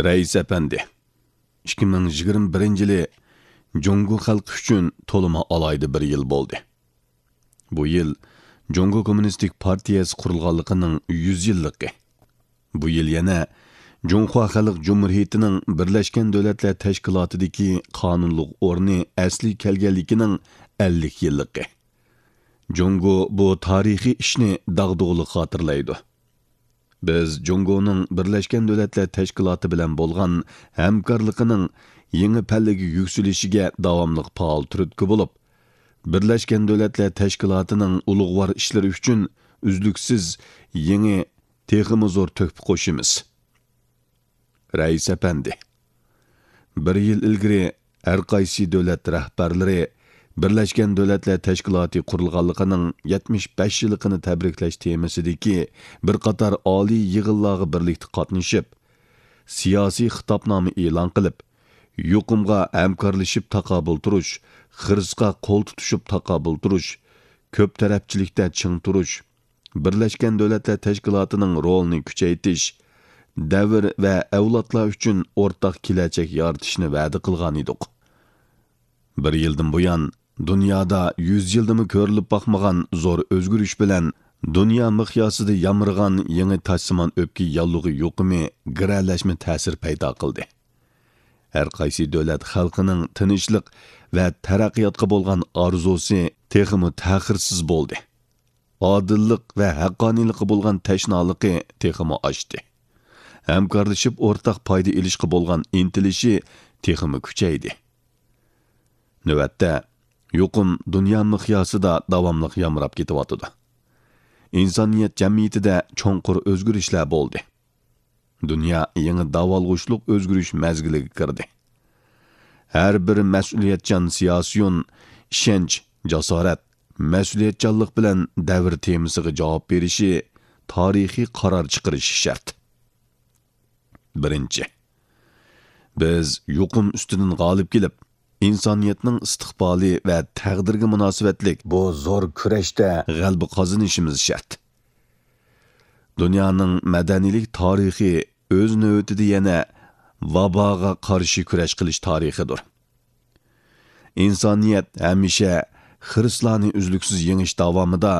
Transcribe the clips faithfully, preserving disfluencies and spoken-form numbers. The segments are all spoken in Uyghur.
رەئىس ئەپەندى، ئىككى مىڭ يىگىرمە بىرىنچى يىلى جۇڭگو خەلقى ئۈچۈن تولىمۇ ئالاھىدە بىر يىل بولدى. بۇ يىل جۇڭگو كوممۇنىستىك پارتىيەسى قۇرۇلغانلىقىنىڭ يۈز يىللىقى. بۇ يىل يەنە جۇڭخۇا خەلق جۇمھۇرىيىتىنىڭ بىرلەشكەن دۆلەتلەر تەشكىلاتىدىكى قانۇنلۇق ئورنى ئەسلىگە كەلگەنلىكىنىڭ ئەللىك يىللىقى. جۇڭگو بۇ تارىخىي ئىشنى داغدۇغىلىق خاتىرىلەيدۇ. بىز جۇڭگونىڭ بىرلەشكەن دۆلەتلەر تەشكىلاتى بىلەن بولغان ھەمكارلىقىنىڭ يېڭى پەللىگە يۈكسىلىشىگە داۋاملىق پائال تۈرتكە بولۇپ، بىرلەشكەن دۆلەتلەر تەشكىلاتىنىڭ ئۇلۇغۋار ئىشلىرى ئۈچۈن ئۈزلۈكسىز يېڭى، تېخىمۇ زور تۆھپە قوشىمىز. رەئىس ئەپەندى، بىر يىل ئىلگىرى ھەر قايسى دۆلەت رەھبەرلىرى بىرلەشكەن دۆلەتلەر تەشكىلاتى قۇرۇلغانلىقىنىڭ يەتمىش بەش يىللىقىنى تەبرىكلەش تېمىسىدىكى بىر قاتار ئالىي يىغىنلارغا بىرلىكتە قاتنىشىپ، سىياسىي خىتابنامە ئېلان قىلىپ، يۇقۇمغا ھەمكارلىشىپ تاقابىل تۇرۇش، خىرىسقا قول تۇتۇشۇپ تاقابىل تۇرۇش، كۆپ تەرەپچىلىكتە چىڭ تۇرۇش، بىرلەشكەن دۆلەتلەر تەشكىلاتىنىڭ رولىنى كۈچەيتىش، دەۋر ۋە ئەۋلادلار ئۈچۈن ئورتاق كېلەچەك يارىتىشنى ۋەدە قىلغان ئىدۇق. بىر يىلدىن بۇيان، دۇنيادا يۈز يىلدىمۇ كۆرۈلۈپ باقمىغان زور ئۆزگىرىش بىلەن دۇنيا مىقياسىدا يامرىغان يېڭى تاجسىمان ئۆپكە ياللۇغى يۇقۇمى گىرەلەشمە تەسىر پەيدا قىلدى. ھەر قايسى دۆلەت خەلقىنىڭ تىنچلىق ۋە تەرەققىياتقا بولغان ئارزۇسى تېخىمۇ تەخىرسىز بولدى. ئادىللىق ۋە ھەققانىيلىققا بولغان تەشنالىقى تېخىمۇ ئاشتى. ھەمكارلىشىپ ئورتاق پايدا ئېلىشقا بولغان ئىنتىلىشى تېخىمۇ كۈچەيدى. نۆۋەتتە، يۇقۇم دۇنيا مىقياسىدا داۋاملىق يامراپ كېتىۋاتىدۇ. ئىنسانىيەت جەمئىيىتىدە چوڭقۇر ئۆزگىرىشلەر بولدى. دۇنيا يېڭى داۋالغۇشلۇق ئۆزگىرىش مەزگىلىگە كىردى. ھەر بىر مەسئۇلىيەتچان سىياسىيون ئىشەنچ، جاسارەت، مەسئۇلىيەتچانلىق بىلەن دەۋر تېمىسىغا جاۋاب بېرىشى، تارىخىي قارار چىقىرىشى شەرت. بىرىنچى، بىز يۇقۇم ئۈستىدىن غالىب كېلىپ، ئىنسانىيەتنىڭ ئىستىقبالى ۋە تەقدىرىگە مۇناسىۋەتلىك بۇ زور كۈرەشتە غەلىبە قازىنىشىمىز شەرت. دۇنيانىڭ مەدەنىيلىك تارىخى ئۆز نۆۋىتىدە يەنە ۋاباغا قارشى كۈرەش قىلىش تارىخىدۇر. ئىنسانىيەت ھەمىشە خىرىسلارنى ئۈزلۈكسىز يېڭىش داۋامىدا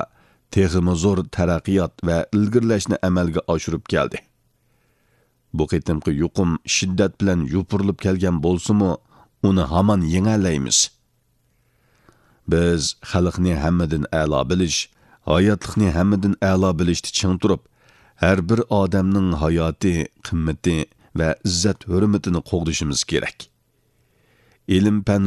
تېخىمۇ زور تەرەققىيات ۋە ئىلگىرىلەشنى ئەمەلگە ئاشۇرۇپ كەلدى. بۇ قېتىمقى يۇقۇم شىددەت بىلەن يوپۇرۇلۇپ كەلگەن بولسىمۇ، ئۇنى ھامان يېڭەلەيمىز. بىز خەلقنى ھەممىدىن ئەلا بىلىش، ھاياتلىقنى ھەممىدىن ئەلا بىلىشتە چىڭ تۇرۇپ، ھەر بىر ئادەمنىڭ ھاياتى، قىممىتى ۋە ئىززەت-ھۆرمىتىنى قوغدىشىمىز كېرەك. ئىلىم-پەن